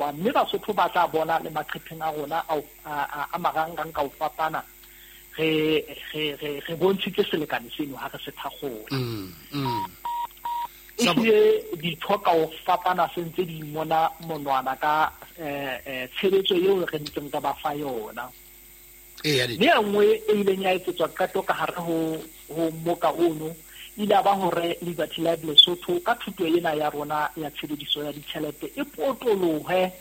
Kwakwa, mme Basotho ba tla bona le maqepheng a rona a marangrang ka ho fapana re bontshitse selekane seno ha re se thakgola. Ehlile ditho ka ho fapana se ntse di mona monwana ka tshebetso eo re ntseng re ba fa yona. Mme e nngwe e ileng ya etsetswa qeto ka hare ho moka ono ile a ba hore Liberty Life Lesotho ka thuto ena ya rona ya tshebediso ya ditjhelete e potolohe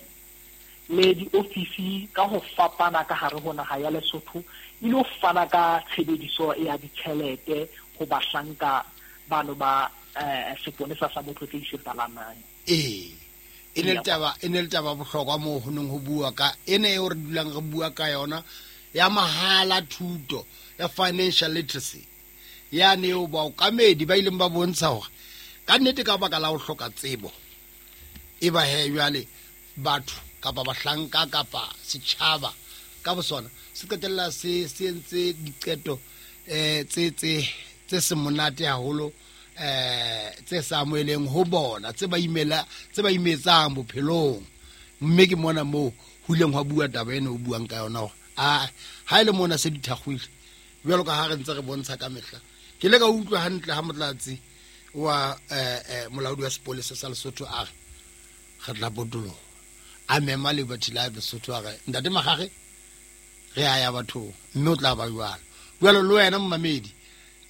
le diofisi ka ho fapana ka hare ho naha ya Lesotho e lo fana ka tshebediso ya ditjhelete ho bahlanka bano ba seponesa sa Motlotlei se palamang. Ee, e ne le taba bohlokwa moo ho neng ho bua ka ena eo re dulang re bua ka yona ya mahala thuto ya financial literacy yane eo baokamedi ba ileng ba bontsha hore ka nnete ka baka la ho hloka tsebo e ba he jwale batho kapa bahlanka kapa setjhaba ka bosona se qetella se entse diqeto tse se monate haholo tse sa amoheleng ho bona tse ba imetsang bophelong. Mme ke mona moo ho ileng hwa bua taba ena o buang ka yona hore a ha e le mona se di thakgwile jwalo ka ha re ntse re bontsha ka mehla. Ke ile ka utlwa hantle ha motlatsi wa molaodi wa sepolesa sa Lesotho a re re tla potoloha, a mema Liberty Life Lesotho a re ntate Magage re a ya bathong mme o tla ba jwalo. Jwalo le wena momamedi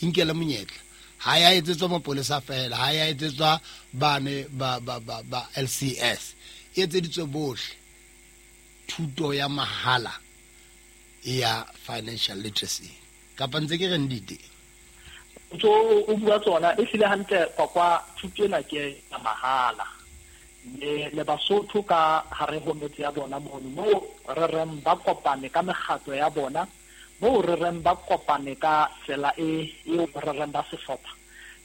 inkele monyetla, ha ya etsetswa mapolesa fela, ha ya etsetswa bane ba LCS, e etseditswe bohle thuto ya mahala ya financial literacy. Kapa ntse ke re ndite ntso o bua tsona e hlile hantle Kwakwa, thuto ena ke ya mahala. Mme le Basotho ka hare ho metse ya bona mono moo re reng ba kopane ka mekgatlo ya bona, moo re reng ba kopane ka tsela eo re reng ba sehlopha.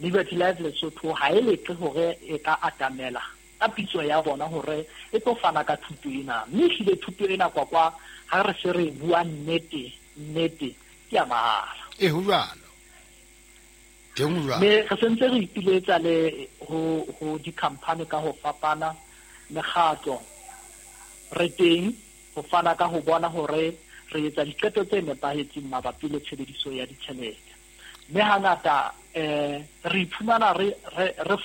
Liberty Life Lesotho ha e leqe hore e ka atamela ka pitso ya bona hore e tlo fana ka thuto ena. Mme ehlile thuto ena Kwakwa ha re se re bua nnete nnete ke ya mahala. E ho jwalo. Teng ho jwalo. Mme re sentse re ipiletsa le ho di-company ka ho fapana, mekgatlo re teng ho fana ka ho bona hore re etsa diqeto tse nepahetseng mabapi le tshebediso ya ditjhelete. Mme hangata re iphumana re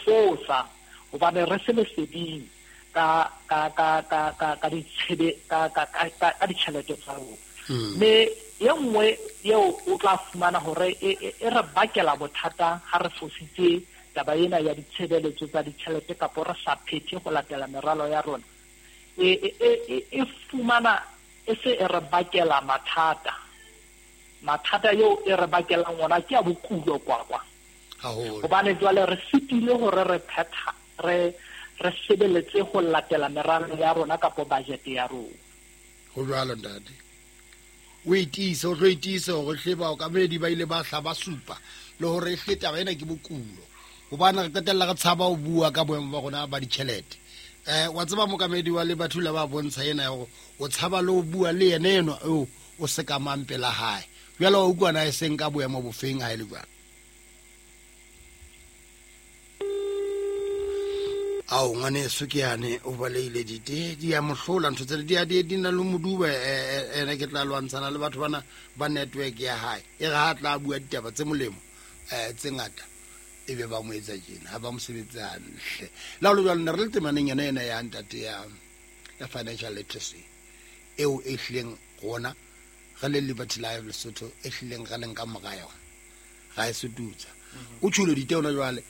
fosa hobane re se leseding ka ditjhelete tsa rona. Mme e nngwe eo o tla fumana hore e re bakela bothata ha re fositse taba ena ya ditshebeletso tsa ditjhelete kapa re sa phethe ho latela meralo ya rona, e fumana e se e re bakela mathata. Mathata eo e re bakelang ona ke a bokulo Kwakwa. Hobane jwale re sitile hore re phetha re sebeletse ho latela meralo ya rona kapa budget ya rona. Ho jwalo ntate. O itiise, o tlo itiise hore hle baokamedi ba ile ba hla ba supa le hore hle taba ena ke bokulo. Hobane re qetella re tshaba ho bua ka boemo ba rona ba ditjhelete. Wa tseba mokamedi wa Liberty la ba bontsha ena hore o tshaba le ho bua le yena eno eo o se ka mang pela hae. Jwale wa utlwa na e seng ka boemo bofeng ha e le jwalo. Ao ngwaneso ke yane o baleile dite di ya mohlola ntho tsena di ya di na le moduba ene ke tla lwantshana le batho bana ba network ya hae. E re ha tla bua ditaba tse molemo tse ngata e be ba mo etsa tjena ha ba mo sebetse hantle. La ho le jwalo ne re le temaneng yona ena ya ntate ya financial literacy eo e hlileng rona re le Liberty Life Lesotho e hlileng re leng ka mora yona ga e sututsa. O tjholo dite ona jwale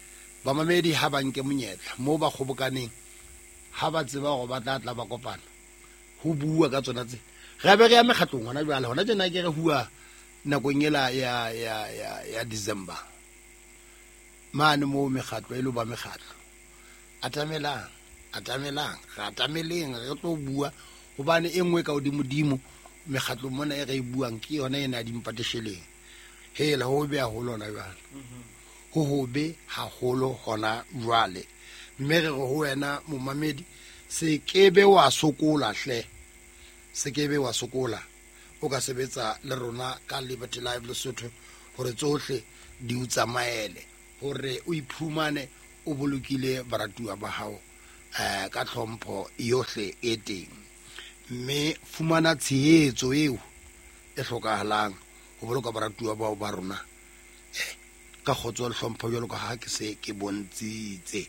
bamamedi ha ba nke monyetla moo ba kgobokaneng ha ba tseba hore ba tla tla ba kopana ho bua ka tsona tse. Re be re ya mekgatlong hona jwale hona tjena ke re hua nakong ela ya December mane moo mekgatlo e lo ba mekgatlo. Atamelang, atamelang, re atameleng re tlo bua hobane e nngwe ka hodimodimo mekgatlo mona e re e buang ke yona ena ya dimpatesheleng. Hela ho be haholo hona jwale. Ho hobe haholo hona jwale. Mme re re ho wena momamedi se kebe wa sokola hle. Se kebe wa sokola. O ka sebetsa le rona ka Liberty Life Lesotho hore tsohle di o tsamaele, hore o iphumane o bolokile baratuwa ba hao ka tlhompho yohle e teng, mme fumana tshehetso eo e hlokahalang ho boloka baratuwa bao ba rona ka kgotso le hlompho jwalo ka ha ke se ke bontshitse.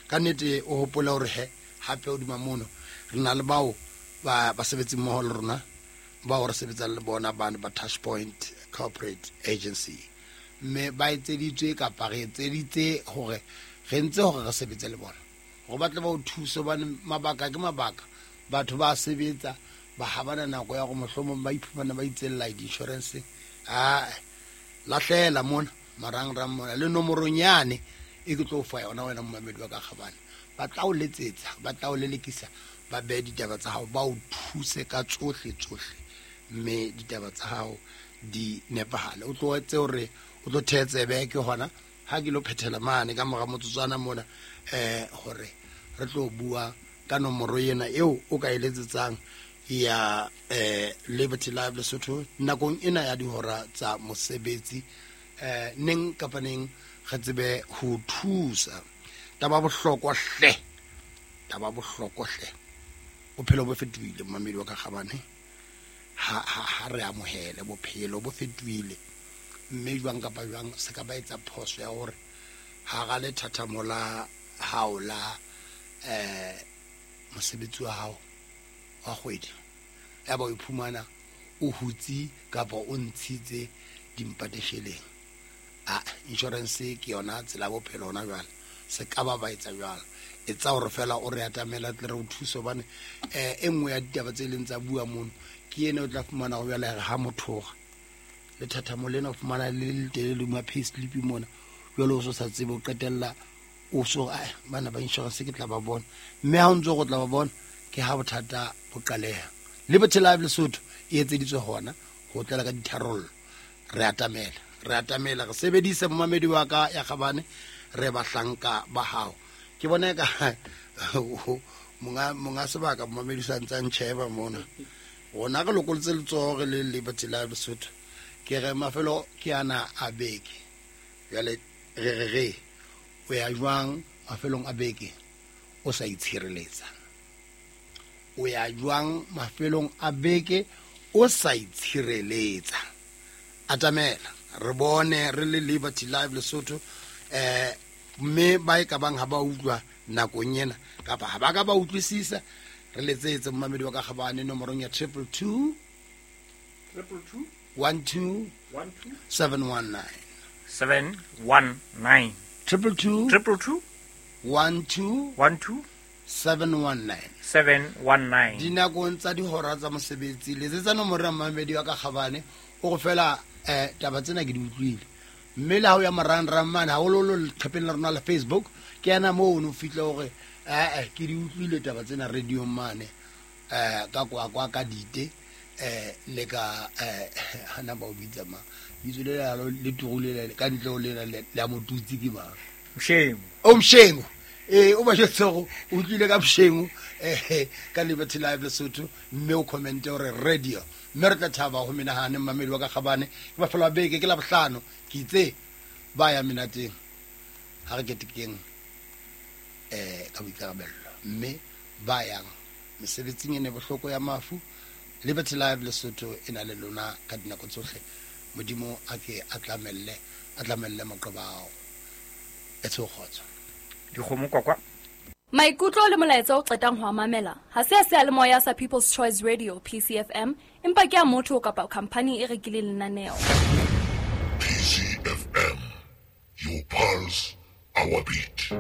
Ka nnete o hopola hore he hape hodima mono re na le bao ba basebetsi mmoho le rona bao re sebetsang le bona bane ba Touchpoint Corporate Agency, mme ba etseditswe kapa re etseditse hore re ntse hore re sebetse le bona hore ba tle ba o thuse, hobane mabaka ke mabaka. Batho ba sebetsa ba ha bana nako ya hore mohlomong ba iphumana ba itsella di-insurance. A lahlela mona marangrang mona le nomorong yane e ke tlo fa yona wena momamedi wa ka kgabane, ba tla o letsetsa, ba tla o lelekisa, ba behe ditaba tsa hao, ba o thuse ka tsohle tsohle, mme ditaba tsa hao di nepahale. O tlo etse hore o tlo thetsebe ke hona ha ke lo phethela mane ka mora motsotswana mona hore re tlo bua ka nomoro ena eo o ka e letsetsang ya Liberty Live Lesotho nakong ena ya dihora tsa mosebetsi, neng kapa neng re tsebe ho thusa. Taba bohlokwa hle, taba bohlokwa hle, bophelo bo fetohile momamedi wa ka kgabane, ha re amohele bophelo bo fetohile, mme jwang kapa jwang se ka ba etsa phoso ya hore hara lethathamo la hao la mosebetsi wa hao wa kgwedi ya ba o iphumana o hutse kapa o ntshitse dimpatesheleng. A insurance ke yona tsela ya bophelo hona jwale, se ka ba ba etsa jwalo, etsa hore fela o re atamela tle re o thuse, hobane e nngwe ya ditaba tse leng tsa bua mono ke ena o tla fumana ho jwale ha mothoga lethathamo lena o fumana le letelele ma pay slip mona jwale o so sa tsebe o qetella o so bana ba insurance ke tla ba bona, mme ha o ntse go tla ba bona ke ha bothata bo qaleha. Liberty Live Lesotho e etseditswe hona ho tlela ka ditharollo. Re atamela, re atamela, re sebedise momamedi wa ka ya kgabane, re bahlanka ba hao. Ke bona ka monga sebaka momamedi sa ntsa ntjheba mona, rona re lokolotse letsoho re le Liberty Live Lesotho, ke re mafelo ke ana a beke jwale re o ya jwang mafelong a beke o sa itshireletsa, o ya jwang mafelong a beke o sa itshireletsa. Atamela re bone re le Liberty Live Lesotho, mme ba e ka bang ha ba utlwa nakong ena kapa ha ba ka ba utlwisisa, re letsetse momamedi wa ka kgabane nomorong ya 222 222 12 12 719 719 222 222 12 12 719 719. Dinakong tsa dihora tsa mosebetsi letsetsa nomoro ya momamedi wa ka kgabane o go fela taba tsena ke di utlwile, mme le ha o ya marangrang mane haholoholo leqhepeng la rona la Facebook ke yana moo o no fihle hore ke di utlwile taba tsena radio mane ka kwa ka dite le ka hana ba o bitsa mang bitso le la le turule le ka ntle o le la motutsi ke mang Mshengu o Mshengu o ba jwetse hore o utlwile ka Mshengu ka Liberty Live Lesotho, mme o commente hore radio, mme re tla thaba ho menahane mmamedi wa ka kgabane. Ke mafelo a beke ke la bohlano ke itse ba ya menateng ha re ketekeng ka boikarabello, mme ba yang mesebetsing e ne bohloko ya mafu. Liberty Live Lesotho e na le lona ka dinako tsohle. Modimo a ke a tlamelle maqeba ao. Etse kgotso. Dikgomo kwakwa. Maikutlo le molaetsa o qetang ho mamela ha se a seyalemoya sa People's Choice Radio PCFM, empa ke a motho kapa company e rekileng lenaneo. PCFM, your pulse, our beat.